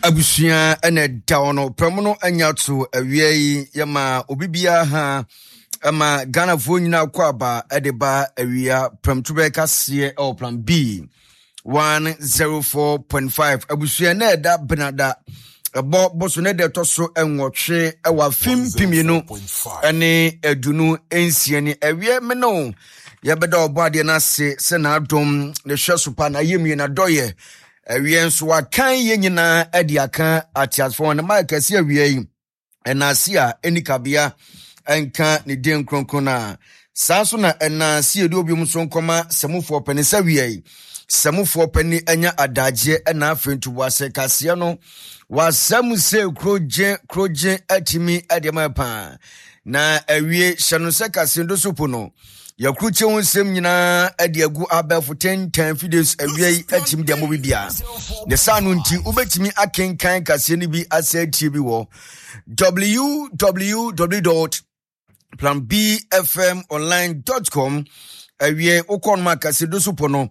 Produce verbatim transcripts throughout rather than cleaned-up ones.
Abusua ɛna ɛda hɔ no prɛmo no anya to awia yi. Yɛma obi biara ha, ɛma Ghanafoɔ nyinaa kɔ aba ɛde ba awia prɛmto bɛyɛ kaseɛ ɛwɔ Plan B one zero four point five. Abusua, na ɛda benada ɛbɔ boso ne deɛ ɛtɔ so nwɔtwe ɛwɔ afe mpemienu ɛne aduonu nsia ni. Awie me no yɛbɛda ɔbɔ adeɛ no ase sɛ n'adom ne hwɛ so pa na ayɛmie n'adɔyɛ. Awie nso wakan yɛn nyinaa ɛde aka ateasefoɔ ne maa kɛse. Awie yi ɛnaase a ɛni kabea ɛnka ne din kronkron no a saa nso na ɛnaase yɛde obiom nso nkɔma sɛmufoɔ pɛne sɛ awie yi sɛmufoɔ pɛne anya adagyeɛ ɛna afei ntoboasɛ kaseɛ no wasɛm sɛ kurogye kurogye atumi ɛde ma paa. Na awie hyɛ no sɛ kaseɛ do so po no yɛkurukye ho nsɛm nyinaa ɛde agu abɛɛfo tentan videos. Awia yi atumi de ama bi bia ne saa no nti wobɛtumi akenkan kaseɛ no bi asɛ atie bi wɔ w w w dot plan b f m online dot com. Awie wokɔ no ma kaseɛ do so po no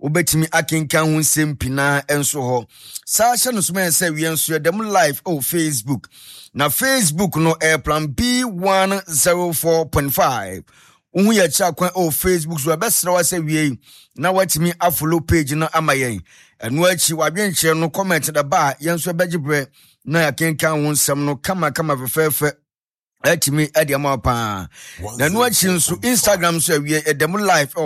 wobɛtumi akenkan ho nsɛm pinaa nso hɔ. Saa hyɛ no so ma sɛ awie nso yɛdɛm live ɛwɔ Facebook, na Facebook no ɛyɛ Plan B one zero four point five. Wohu yɛ akyiri akwan ɛwɔ Facebook so. Ɛbɛsrɛ wa sɛ wie na watumi afollow page no ama yɛn. Ɛno akyi wadwenkyerɛ no, comment da ba a, yɛn nso ɛbɛgye berɛ na yɛakenkan wo nsɛm no kamakama fɛfɛɛfɛ atumi ɛde ama wo paa. Na ɛno akyi nso Instagram nso awie ɛdɛm live.